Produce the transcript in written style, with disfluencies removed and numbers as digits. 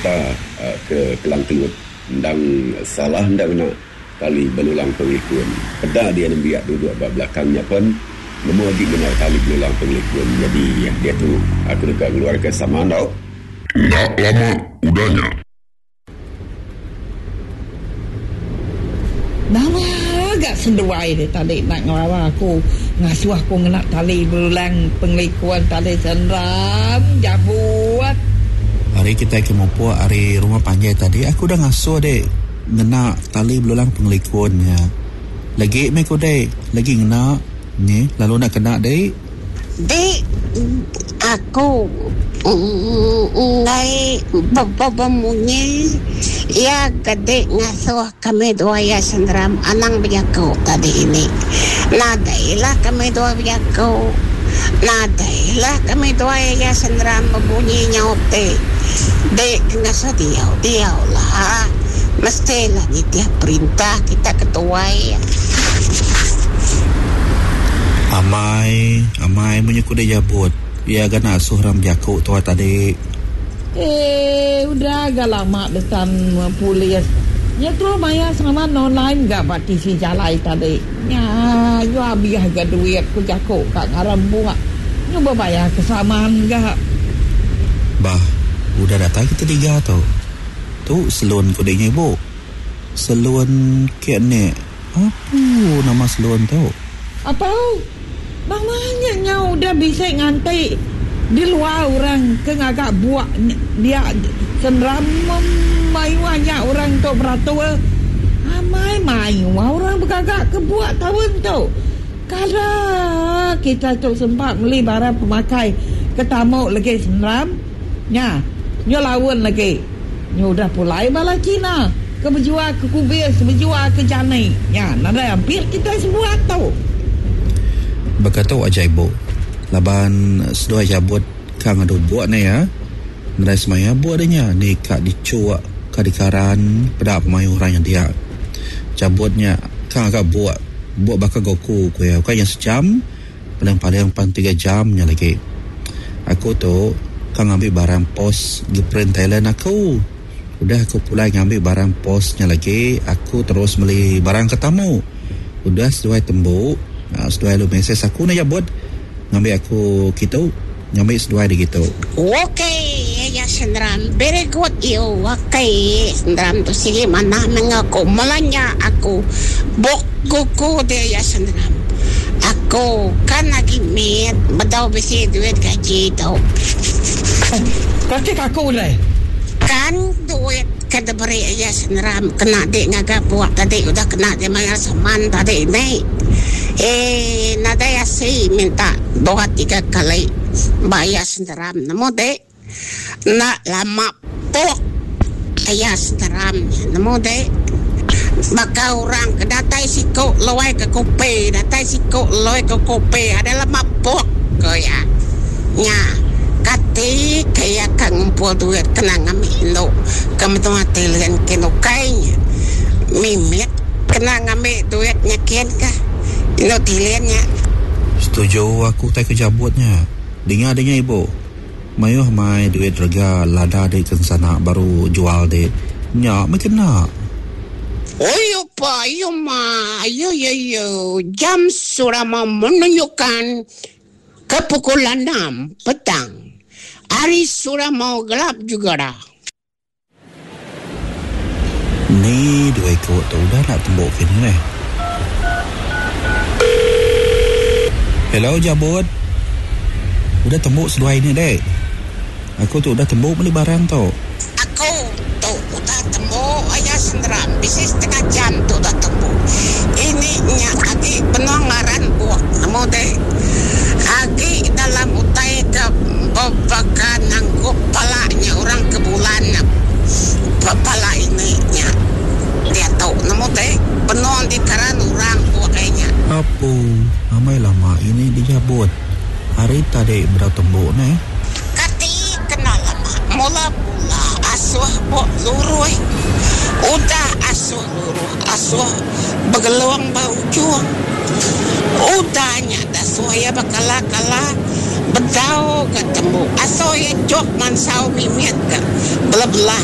kereta ke Kelang Kelut endang salah enda ngena tali belulang pengelikun. Peda dia nembiak duduk ba belakang nya pen nemu agi ngena tali belulang pengelikun. Nyadi diatu aku deka ngeluarka saman tau. Enda lama udah nya. Nama ga seduai deh tadi enda ngelawa aku ngasuh aku ngena tali belulang pengelikun tali seram jabut. Ari kitai ke mupuk ari rumah panjai tadi aku udah ngasuh deh ngena tali belulang pengelikun nya. Legi meh ku deh legi ngena nyi lalu enda kena deh. Dek aku enggai bemunyi iya ke dek ngasuh kami dua iya senderam anang bejaku tadi ini. Nadai lah kami dua bejaku. Nadai lah kami dua iya senderam bebunyi nyaup ti. Dek ke ngasuh diau, diau lah. Mesti lah nitih perintah kita ke tuai. Amai, amai munyi ku deh jabut. Iya ga nasuh orang bejaku tua tadi. Eh, udah ga lama desan polis. Nya terus maya saman online ga ba tisi jalai tadi. Nya yu abih ga duit ku jaku ka ngaran buk. Nyu bebayar ke saman ga. Bah, udah datai kita tiga tu. Tu selun ku deh nya ibu. Selun ke nek. Apu nama selun tu. Apau. Nama nya nyau udah bisi nganti di luar orang ke ngaga buk dia senram mayuh nya orang tu beratur. Amai mayuh orang begaga ke buk taun tu. Kada kita tu sempat meli barang pemakai ke tamu legi senram nya nyu laun legi. Nyu udah pulai bala Cina ke bejual ke kubis, bejual ke jani. Nya nadai ampit kitai sebuat tu. Baka tu aja ibu. Laban seduai jabut ka ngadu buk ne ya. Nadai semaya buk de nya ni ka dichuk ka dikaran peda pemayuh orang nya dia. Jabut nya ka ngaga buk, buk baka Goku ku iya ukai nya sejam. Paling-paling pan tiga jam nya lagi. Aku tu ka ngambi barang pos gi print Thailand aku. Udah aku pulai ngambi barang pos nya lagi, aku terus meli barang ke tamu. Udah seduai tembu, seduai lalu mesej aku enda jabut ngambi aku kitu, ngambi seduai digitu. Okay ya senderam very good you okay senderam tu sigi manah meh enggau aku melanja aku bok kuku dia ya senderam aku kan agi mit bedau bisi duit gaji tu. Kati ka aku deh. Kan duit ke diberi iya senderam kena di ngaga bok tadi udah kena di mayar saman tadi ni. Eii nadai asi minta dua tiga kali bayar senderam nemu dek. Enda lama pok bayar senderam nya nemu dek. Baka orang ke datai siku luai ke kopi datai siku luai ke kopi ada lama pok ko iya. Nya kati ke iya ka ngumpul duit kena ngambi indu ke menua Thailand kin ukai nya. Mimit kena ngambi duit nya kin kah indu tilin nya. Setuju aku tai ke jabut nya. Dinga dinga ibu. Mayuh mai duit rega lada di kensana baru jual di. Nya meh kena. Oyo pa yo ma yo yo yo jam sudah mau menunjukkan ke pukul enam petang. Hari sudah mau gelap juga dah. Ni dua iku tu udah enda tembu kini neh. Hello Jabut. Udah tembu seduai ni dek. Aku tu udah tembu meli barang tu. Aku tu udah tembu aya senderam bisi setengah jam tu udah tembu. Ini nya agi benung ngaran buk nemu dek. Agi dalam utai ke bebaka nangkup pala nya orang ke bulan pala ini nya diatu nemu te benung dikaran orang bukai nya. Apu, amai lama ini dijabut. Hari tadi bedau tembu neh. Kati kena lama mula mula asuh bok luruh udah asuh luruh asuh begelung ba ujung udah nya dasuh iya bekala kala bedau ga tembu asuh iya jok mansau mimit ga belah belah.